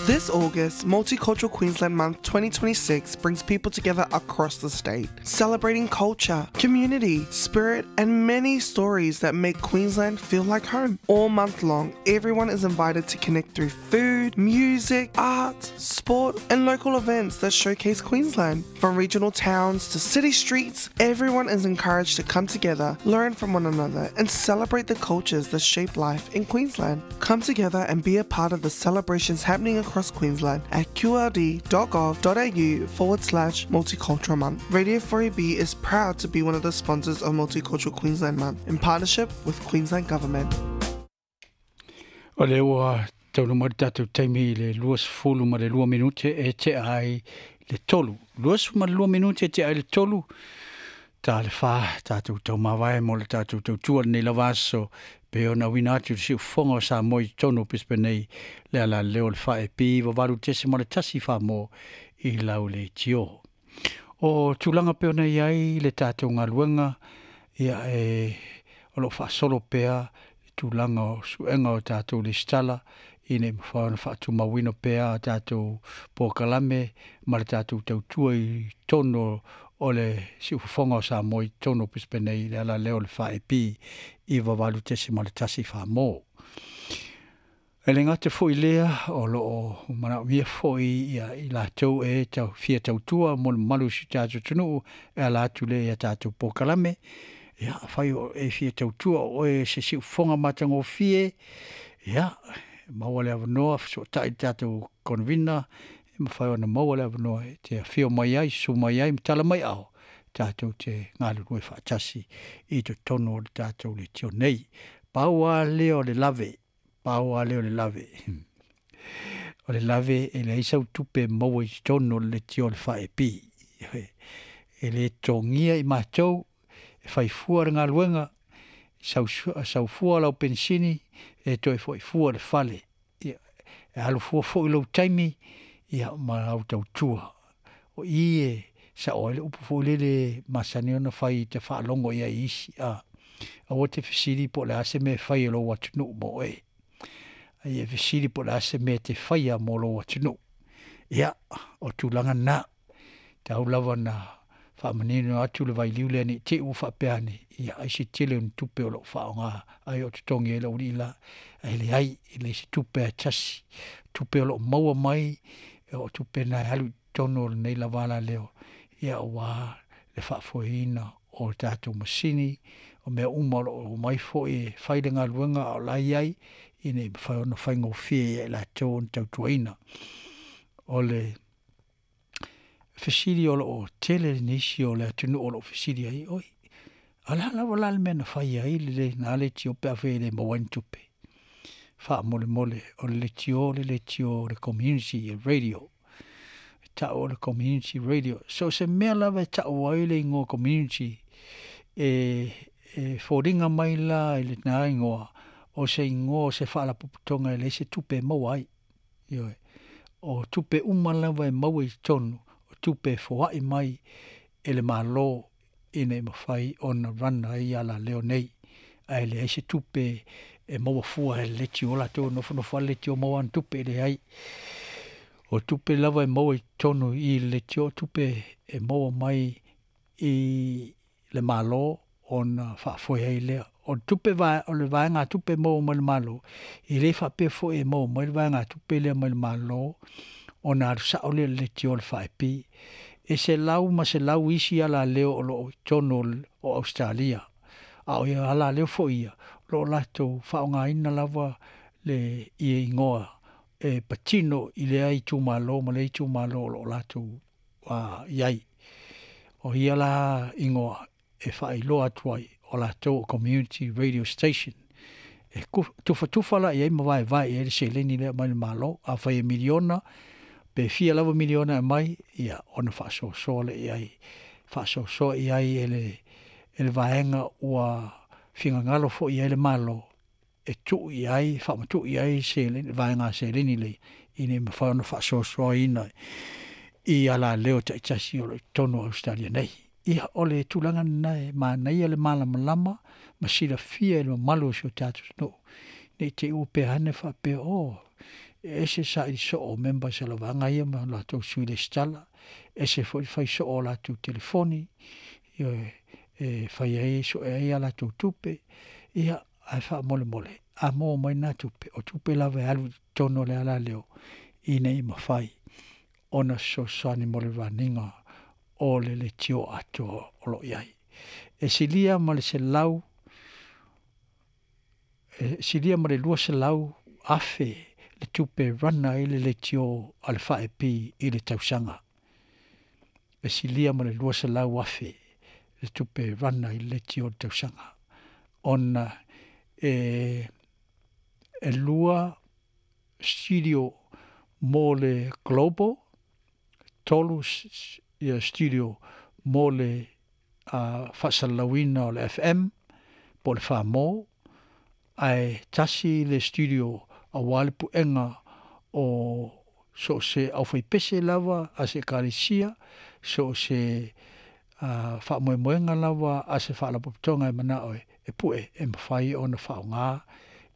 This August, Multicultural Queensland Month 2026 brings people together across the state, celebrating culture, community, spirit, and many stories that make Queensland feel like home. All month long, everyone is invited to connect through food, music, art, sport, and local events that showcase Queensland. From regional towns to city streets, everyone is encouraged to come together, learn from one another, and celebrate the cultures that shape life in Queensland. Come together and be a part of the celebrations happening across Queensland at qld.gov.au/multicultural month. Radio 4AB is proud to be one of the sponsors of Multicultural Queensland Month in partnership with Queensland Government. O lea ua taunuu mai le tatou taimi i le 22 minute e tea ai le tolu. 22 minute e tea ai le tolu, ta le fa tatou taumavae mo le tatou tautua lenei lava aso pe ona uina atu le siufofoga o Samoa i totonu o Brisbane nei le ala leo o le 4AP 98.1 Samoa i lau leitio. O tulaga pei ona i ai le tatou galuega, ia e o lo o faasolo pea le tulaga o suega o tatou lesitala ina ia mafai ona faatumauina pea a tatou polokalame ma le tatou tautua i totonu o le siufofoga o Samoa i totonu o Brisbane nei i le ala lea o le 4AP 98.1 Samoa. E le gata foi i lea, o lo o manaomia foi ia i latou e tau fia tautua mo le mamalu o si o tatou atunuu e ala atu lea i a tatou polokalame. Ia, afai o e fia tautua o oe se siufofoga matagofie, ia, maua le avanoa, fesootai i le tatou convener, e mafai ona maua le avanoa e te afio mai ai, susu mai ai ma tala mai ao, tatou te galulue faatasi i totonu o le tatou leitio nei. Pau lava lea o le lave, Pau lava lea o le lave. O le lave e leai sau tupe e maua i totonu o le leitio o le 4AP. E le totogia i matou, e fai fua le galuega, sau, sau fua lau penisini, e toe foi fua le fale. Ia, e alu fua foi lou taimi, ia, ma lau tautua. O i e sao ai le upu foi lele masani ona fai e te faalogo i ai i isi, a, aua te fesili po o le a se mea e fai e lou atunuu mo oe, a ia fesili po o le a se mea e te faia mo lou atunuu. Ia, o tulaga na, tau lava na faamanino atu le vailiu lea ne i te i ua faapea ane, ia ai se tele o ni tupe o lo o faaaoga ai o totogi ai le aualii la, ae leai, e leai se tupe a tasi. Tupe o lo o maua mai, o tupe na e alu i totonu o lenei lava alaleo, ia aua le faafoeina o tatou masini, o mea uma o lo o omai foi e fai le galuega a o la e i ai, ina ia mafai ona faigofie ia i latou ona tautuaina. O le fesili o lo o tele nisi o le atunuu o lo o fesili ai, oi, a le a lava la le mea na fai ai le na leitio pe afai e le maua ai ni tupe? Faamolemole, o le leitio le leitio o le community radio. E tau o le community radio. So se mea lava e tau ai le igoa community, e, e foliga mai la i lena igoa, o se igoa o se faalapotopotoga e leai se tupe e maua ai. Ioe. O tupe uma lava e maua i totonu, o tupe e foai mai e le Malo ina ia mafai ona run ai alaleo nei. Ae leai se tupe e maua fua e le leitio latou e nofonofo lava le leitio maua ana tupe, e leai. O tupe lava e maua i totonu i le leitio, o tupe e maua mai i le Malo ona faafoe ai lea. O le tupe o le vaegatupe e maua mai le Malo, e le faapea foi e maua mai le vaegatupe lea mai le Malo ona alu sao lea i le leitio o le 4AP. E selau ma selau isi alaleo o lo o i totonu o Ausetalia, a o alaleo foi ia, o lo o latou faaaogaina lava le igoa e patino i lea itumalo ma lea itumalo o lo o latou i ai. O ia la igoa e faailoa atu ai o latou o community radio station. E tufatufa la i ai ma vaevae i ai le seleni lea mai le Malo. Afai e miliona, pe fia lava miliona e aumai, ia ona faasoasoa lea i ai, faasoasoa i ai e le, e le vaega ua finagalo foi i ai le Malo e tuu i ai, faamatuu i ai seleni, vaega seleni lea ina ia mafai ona faasoasoaina i alaleo taitasi o lo o i totonu o Ausetalia nei. Ia, o le tulaga lena e manaia le malamalama ma silafia e le mamalu o si o tatou atunuu, ne i te i ua pea ane faapea, oh, E ese saili soo o members a le vaega ia ma latou sui resitala, ese foi le fai soo o latou telefoni, ioe, e fai ai e sue ai a latou tupe, ia ae faamolemole, a maua mai na tupe, o tupe lava e alu i totonu o le alaleo ina ia mafai ona fesoasoani mo le run ina o le leitio atoa o lo o i ai. E silia ma le 100, e silia ma le 200,000 le tupe e run ai le leitio a le 4AP i le tausaga. E silia ma le 200,000 le tupe e run ai le leitio i le tausaga, ona e 2 studio mo le Global, 3 studio mo le faasalalauina o le FM po o le 4Mo, ae tasi le studio aua le puega o so o se aufaipese lava a se ekalesia, so o se faamoemoega lava a se faalapotopotoga e manao e pue, e mafai ona faaaoga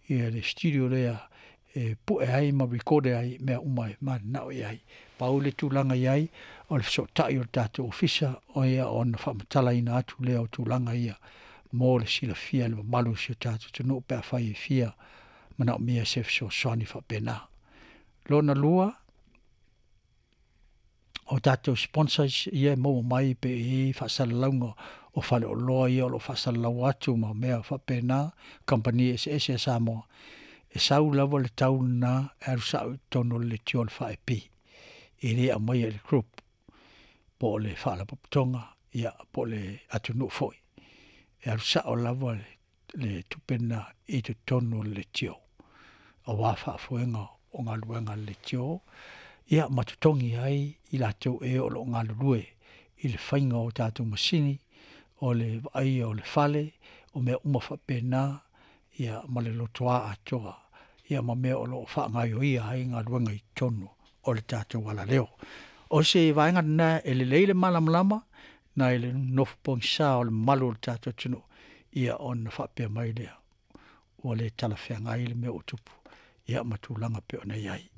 le studio lea e pue ai ma record ai mea uma e mananao i ai. Pau le tulaga i ai o le fesootai o le tatou ofisa, o ia ona faamatalaina atu lea o tulaga ia mo le silafia e le mamalu o si o tatou atunuu pe afai e fia manaomia se fesoasoani faapena. Lona lua, o tatou sponsors ia e maua mai pe i ai faasalalauga o faleoloa ia o lo o faasalalau atu ma mea faapena, kamupani eseese a Samoa, e sau lava le tau lena e alu sao i totonu o le leitio a le 4AP. E le aumaia i le group po o le faalapotopotoga, ia, po o le atunuu foi. E alu sao lava le tupe lena i totonu o le leitio aua faafoega o galuega a le leitio, ia ma totogi ai i latou e o lo o galulue i le faiga o tatou masini, o le vaaia o le fale, o mea uma faapena, ia ma le lotoa atoa, ia ma mea o lo o faagaoioia ai galuega i totonu o le tatou alaleo. O se vaega lena e lelei le malamalama nai le nofo pogisa o le mamalu o le tatou atunuu, ia ona faapea mai lea, ua le talafeagai le mea ua tupu, ia ma tulaga e pei ona i ai.